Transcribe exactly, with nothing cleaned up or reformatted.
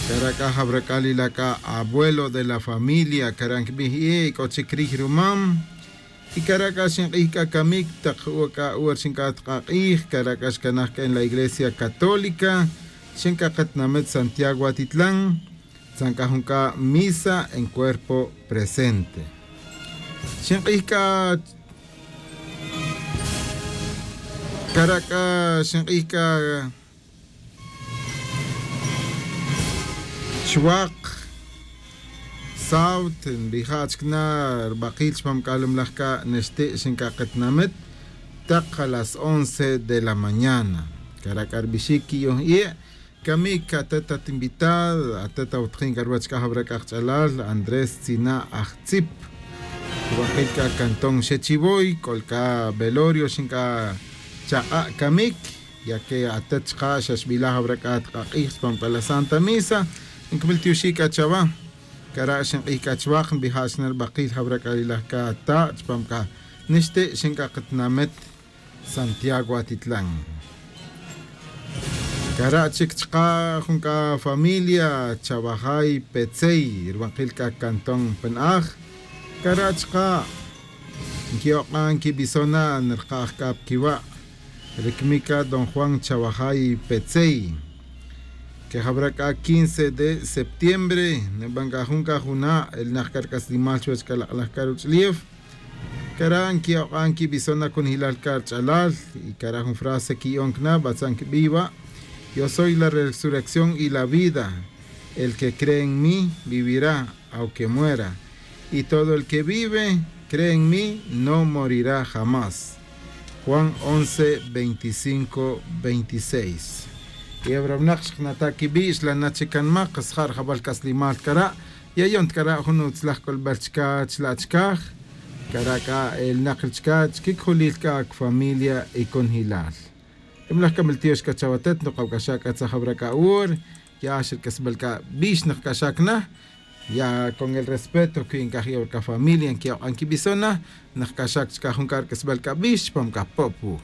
Cara' c'a jawra c'a lila' c'a abuelo de la familia cara' nquibij ye' c'o chic riy rumam. Y cara' c'a xink'ij c'a camic tak uwa c'a uwa rixin c'a tk'ak'ij cara' c'a xcanaj c'a en la iglesia católica rixin c'a katinamit santiago atitlan. Tzan c'a jun c'a misa en cuerpo presente. Xink'ij c'a cara' c'a xink'ij c'a chwak sawt nbija' chic na rbakil chupam c'a lumlaj c'a nixti' xin c'a katinamit tak a las once de la mañana. Cara' c'a rbixic qui'yon ie' camic atet at invitado atet awutjin c'a ruwech c'a jawra c'a kach'alal andrés tzina' ajtzip. Rubakil c'a cantón xechivoy c'ol c'a velorio xin c'a chak'a' camic. Ya que atet chka' xa xbilaj awra c'a tk'ak'ij chupam c'a la santa misa. Nquimil tioxi' c'a chawa. Cara' xink'ij c'a chwak nbija' xna' ribakil jawra c'a lilaj c'a ta' chupam c'a nixti' xin c'a katinamit santiago atitlan. Cara' chic chka' jun c'a familia chawajay petzey ribakil c'a cantón pen'aj. Cara' chka' nqui'ok'an quibison na nrkaj c'a pa quiwa'. Ricmic c'a don juan chawajay petzey. Quejawra c'a quince de septiembre niban c'a jun c'a juna' elnak c'a rc'aslimal chuwech c'a lak'laj c'a ruch'ulef. Cara' nqui'ok'an quibison na cunijilal c'a rch'alal. Y cara' jun frase qui'on cana batzan quibiy wa'. Yo soy la resurrección y la vida. El que cree en mí vivirá aunque muera. Y todo el que vive cree en mí no morirá jamás. Juan once veinticinco veintiséis. Y awra winak xknata' quibi' xlana' chic canmak sja' rjawal c'aslimal cara'. Yayon ta cara' jun utzlaj c'olbel chca chla' chcaj. Cara' c'a elnak ri chca chquic julil c'a cfamilia y cunjilal. Ri mlaj c'a miltiox c'a chawatet nukawc'axa' c'a tzajawra c'a ur. Ya xa ri c'asbel c'a bix nukc'axac na. Ya con el respeto cui ncaj ya wara c'a familia nqui'ok'an quibison na. Nukc'axac chca jun c'a ri c'asbel c'a bix chupam c'a pop wuj.